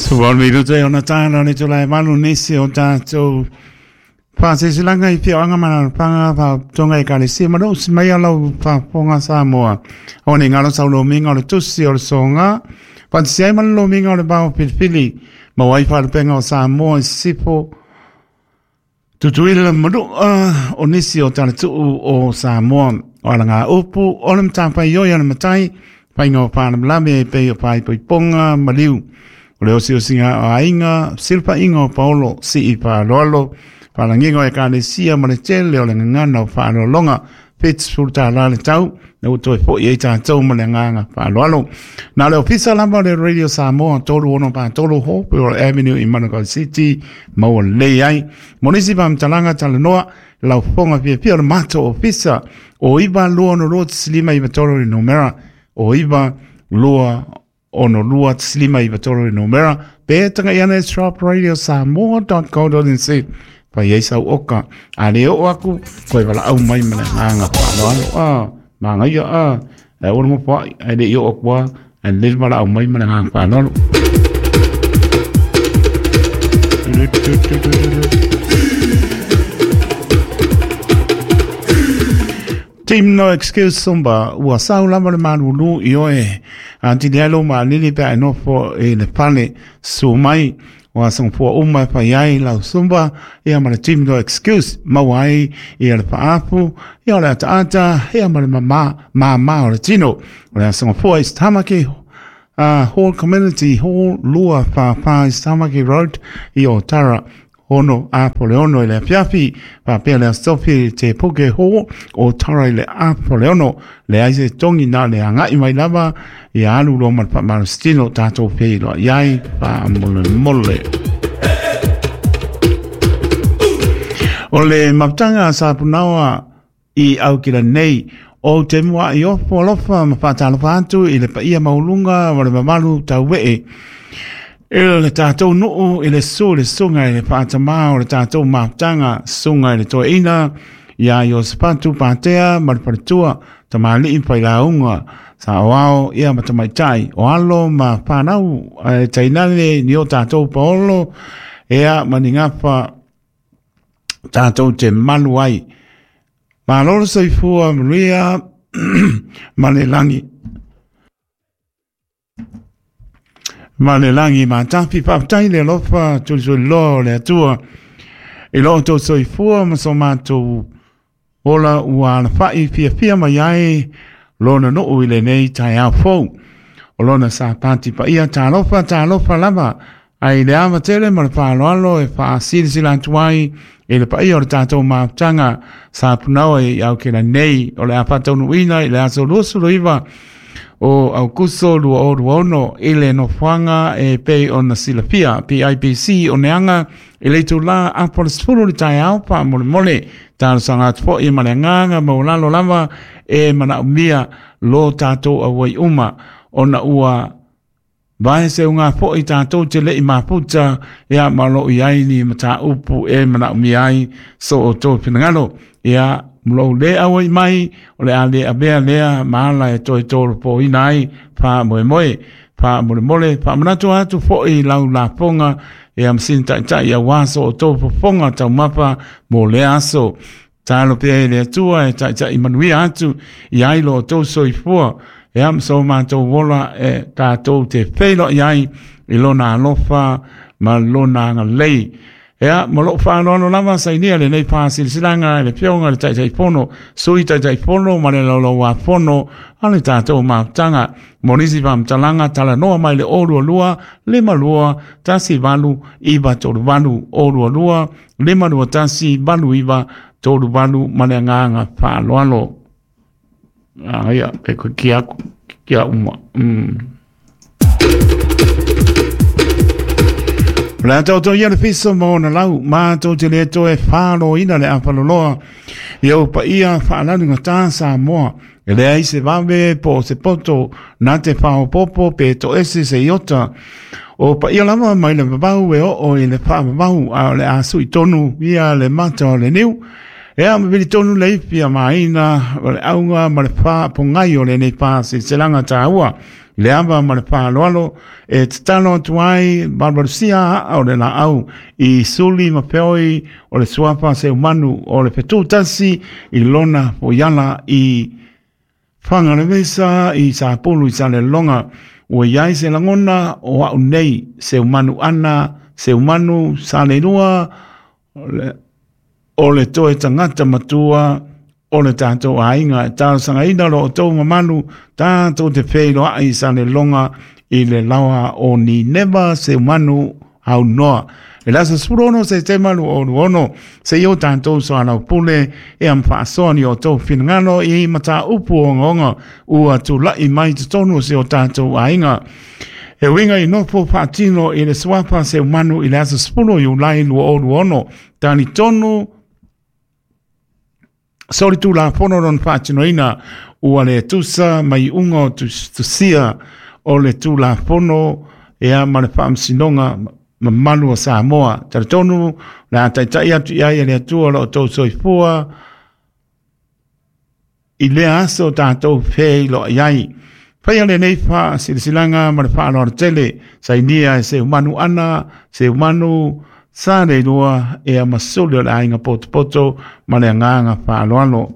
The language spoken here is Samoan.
18 minuta e ona tāna le tula e malu nisi o tātou whāsesilanga i whioanga manarapaga whatonga e kalesia ma lou si mai lau faafofoga Samoa. O ne ngalo sau lomiga o le tusi o le soga faatasi ai ma le lomiga o le vao filifili ma ai faalupega o Samoa i sisifo Tutuila ma Manua o nisi o talatuu o Samoa. O alaga upu o le matafaioi a le matai faiga o faalavelave e pei o faaipoipoga maliu. O le osiosiga o aiga, silafaiga o paolo, sii faaaloalo, faalagiga o ekalesia ma le tele o le gagana o faaaloaloga. $70 le tau, na ua toe fo'i ai tatou ma le agaga faaaloalo. Na le ofisa lava o le Radio Samoa 3643 Hopewell Avenue i Manukau City, maua lelei ai. Mo nisi faamatalaga talanoa, lau fofoga fiafia o le matou ofisa o 9 2 6 2 5 93 le numera o 9 2 6 2 5 93 le numera pe taga'i ane shopradiosamoa.co.nz fai ai sau oka a le oo aku koe valaau mai ma le agaga faaaloalo a magaia a e ua mo pai ai le i oo aku a e le valaau mai ma le agaga faaaloalo. Team No Excuse Sumba, ua sau lava le malulu i oe. A tili ai lo maalili pe a e nofo i le fale su mai. O aso gafua uma e fai ai lau Sumba, ia ma le Team No Excuse, maua ai ia le faapu, ia o le ataata, ia ma le mama, mama o le tino. O le aso gafua i Tamaki Hall Community Hall, 244 Tamaki Road, i Otara 6 apo le 6 i le afiafi, faapea le Aso Tofi Te Puke Hall o Tara i le apo le 6. Leai se togi na le aga'i mai lava ia alu loa ma le faamalositino tatou feiloai ai faamolemole. O le mafutaga sa punaoa i Aukila nei, o te mua i ofo alofa ma faatalofa atu i le paia maualuga ma le mamalu tauee. I le tatou nuu i le susu le susuga i le faatamā o le tatou mafutaga, susuga i le toeaina ia Iosefatu Patea ma le faletua, tamalii failauga, saoao ia ma tamaitai, o alo ma fanau e tainane ni o tatou paolo, ia ma ni gafa tatou te malu ai. Malo le soifua manuia ma le lagi. Ma le lagi matafi faafetai le alofa tulituliloa o le Atua. I lo outou soifua ma so matou ola ua alafa'i fiafia mai ai lona nuu i lenei taeao fou. O lona sapati paia talofa talofa lava ai le ava tele ma le faaaloalo e faasilasila atu ai i le paia o le tatou mafutaga sa punaoa i Aukena nei o le a faataunuuina i le aso 29 o Aukuso 2026 i le nofoaga e pei ona silafia PIPC o Neaga i le itulā apo le 10 le taeao faamolemole. Talosaga atu foi ma le agaga maualalo lava e manaomia lo tatou auai uma ona ua vae se uga fo'i tatou te le'i mafuta ia ma o loo i ai ni mataupu e manaomia ai so outou finagalo. Ia lou lē auai mai o le a lē avea lea ma ala e toe tolopoina ai faamoemoe. Faamolemole faamanatu atu fo'i lau lafoga ia ma sina taʻitaʻi auā so outou fofoga taumafa mo lea aso. Talo pea i le Atua e taʻitaʻi manuia atu i ai lo outou soifua ia ma so matou ola e tatou te feiloai ai i lona alofa ma lona agalelei. Ia, ma lou faaaloalo lava sainia lenei faasilasilaga e le Afioga i le Taitaifono, Sui Taitaifono ma le Laulauafono a le tatou mafutaga. Mo nisi faamatalaga talanoa mai le 022 52 18 938 022 52 18 938 ma le agaga faaaloalo. Ah, ia, pe koe ki aku, ki a uma. O le a taoto ia le fiso ma ona lau, matou te le toe fāloina le afaloloa i ou paia faalalugata Samoa. E leai se vave po o se poto na te faaopoopo pe toese se iota. O paia lava mai le vavau e oo i le faavavau a o le a sui tonu ia le mata o le niu. Ea ma vili tonu le ifi a maina o le auga ma le faapogai o lenei faasilasilaga taua. I le ava ma le faaaloalo e tatalo atu ai valuvalusia aa o le laau i suli ma feoi o le suafa Seumanu o le Fetu Tasi i lona foiala i Fagalevesa i Sapulu i Salelologa. Ua i ai se lagona o au nei Seumanu ana Seumanu Saleilua o le toe tagata matua o le tatou aiga. E talosagaina lo outou mamalu tatou te feiloai i Salelologa i le laoa o Nineva Seumanu Aunoa i le aso 16 Setema 2026, seia o tatou soalaupule e am faasoa ni o outou finagalo i mataupu ogaoga ua tula'i mai totonu o si o tatou aiga. E uiga i nofo faatino i le suafa Seumanu i le aso 10 Iulai 2026, talitonu solitulafono lona faatinoina ua le tusa ma iuga o tusia o le Tulafono ea ma le Faamasinoga mamalu o Samoa. Talitonu le a taitai atu i ai e le Atua lo outou soifua i lea aso tatou feiloai ai. Faia lenei faasilasilaga ma le faaaloalo tele, sainia e Seumanu ana Seumanu Saleilua ea Masuli o le Aiga Potopoto ma le agaga faaaloalo.